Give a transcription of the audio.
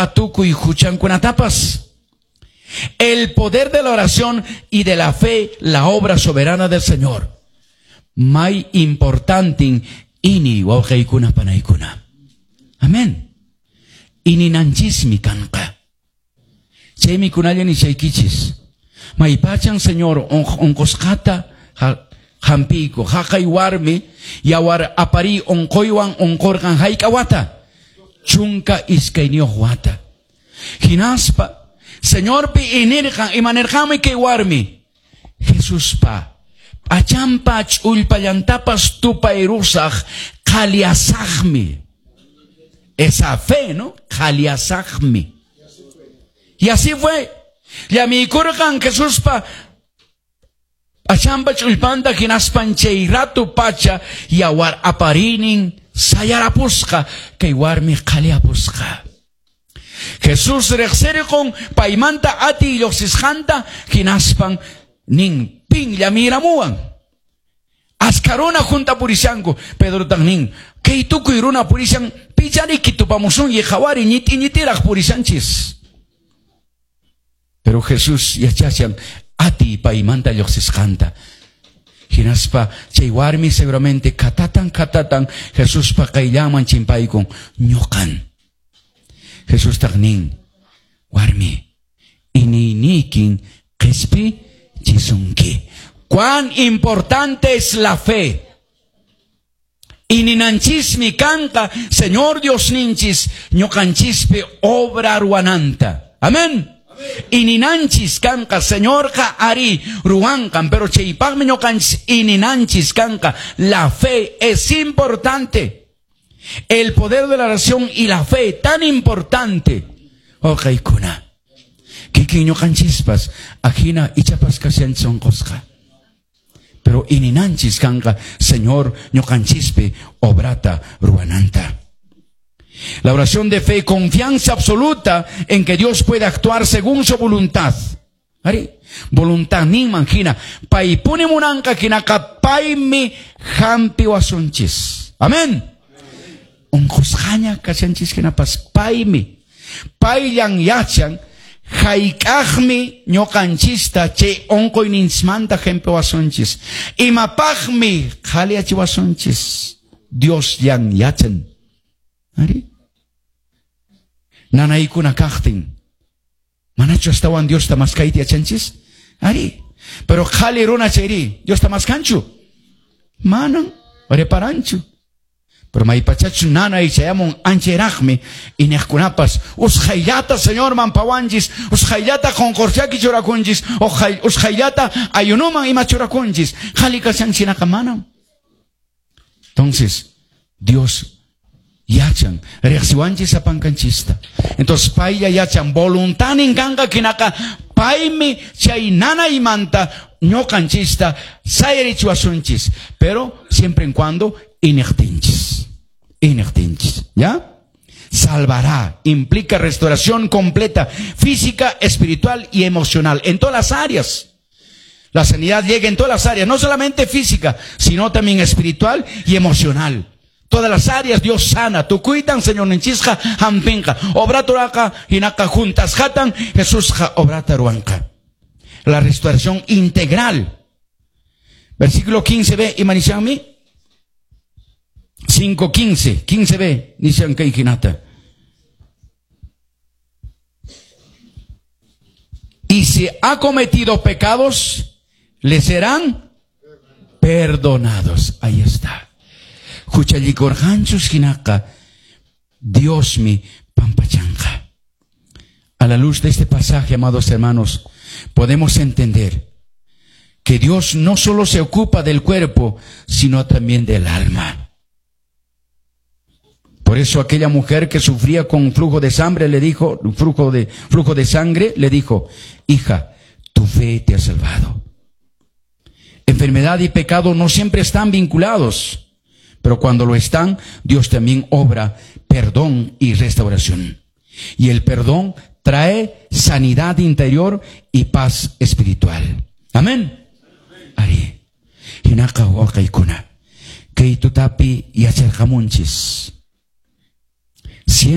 Tukuy huchankunatapas. El poder de la oración y de la fe, la obra soberana del Señor. May importante iñiy, wawqiykuna panaykuna. Amén. Iñinanchismi kanqa. Chaymi kunalla nishaykichis. Maypachan Señor onqosqata hampiyku. Haqay warmi yawar apari onqoywan onqorqan hayk'a wata. 12 wata. Hinaspa Señorpi iñirqan imanirqanmi kay warmi. Jesuspa p'achanpa ch'ullpallantapas tupayrusaq qhaliyasaqmi. Esa fe, ¿no? Qhaliyasaqmi. Y así fue. Llamiykurqan Jesuspa p'achanpa ch'ullpanta hinaspan chay ratu pacha yawar aparinin sayarapusqa kay warmi qhaliyapusqa. Jesús riqsirqun paymanta atiy lluqsisqanta hinaspan nin pin llamiramuwan. Achka runa junta purishanku. Pedrotaq nin kay tukuy runa purishan pichariki tupamusunki qhawari ñit'i ñitiraq purishanchis. Pero Jesús yachashan atiy paymanta lluqsisqanta. Hinaspa chay warmi seguramente katatan katatan Jesuspa qayllanman chimpaykun ñuqan. Jesustaq nin warmi iñiynikin qhispichisunki. Cuán importante es la fe. Iñinanchismi kanqa Señor Diosninchis ñuqanchispi obra ruwananta. Amén. Iñinanchis kanqa Señorqa ari ruwanqan, pero chaypaqmi ñuqanchis iñinanchis kanqa. La fe es importante. El poder de la oración y la fe tan importante. Wawqiykuna. Kikin ñuqanchispas ajina ichapas kashanchis onqosqa. Pero iñinanchis kanqa Señor ñuqanchispi obrata ruwananta. La oración de fe, confianza absoluta en que Dios puede actuar según su voluntad. Ari, voluntad ninman hina, paypuni munanqa hinaqa paymi hampiwasunchis. Amén. Unqusqaña kashanchis hinapas paymi. Payllan yachan hayk'aqmi ñuqanchista chay unquyninchikmanta hampiwasunchis. Imapaqmi qhaliyachiwasunchis. Diosllan yachan. Ari? Nanaykuna kaqtin. Manachu astawan Diosta maskayta yachanchis? Ari. Pero qhali runa chayri, Diosta maskanchu? Manan, reparanchu. Pero maypachachu nanay chayamun anchayraqmi iñiqkunapas usqhayllata Señorman pawanchis, usqhayllata qunqurchaki churakunchis, usqhayllata ayunuman ima churakunchis. Qhali kashanchinaqa manam. Entonces, Dios yachan, riqsiwanchis sapankanchista. Entonces, paylla yachan, voluntanin kanqa hinaqa paymi chay nanaymanta ñuqanchista sayarichiwasunchis, pero siempre en cuando iñiqtinchis. Iñiqtinchis, ¿ya? Salvará, implica restauración completa, física, espiritual y emocional, en todas las áreas. La sanidad llega en todas las áreas, no solamente física, sino también espiritual y emocional. Todas las áreas Dios sana. Tukuytan Señorninchisqa hampinqa. Obrata ruwaqa hinaqa juntasqatan Jesusqa obrata ruwanqa. La restauración integral. Versículo 15b, imanishanmi? 5:15, 15b, nishan kay hinata. Y si ha cometido pecados, le serán perdonados. Ahí está. Huchallikurqanchus hinaqa, Diosmi pampachanqa. A la luz de este pasaje, amados hermanos, podemos entender que Dios no solo se ocupa del cuerpo, sino también del alma. Por eso aquella mujer que sufría con flujo de sangre le dijo, flujo de sangre, le dijo, hija, tu fe te ha salvado. Enfermedad y pecado no siempre están vinculados, pero cuando lo están, Dios también obra perdón y restauración. Y el perdón trae sanidad interior y paz espiritual. Amén. Ari. Hinaqa wawqiykuna. Kay tutapi yacharqamunchis. Siempre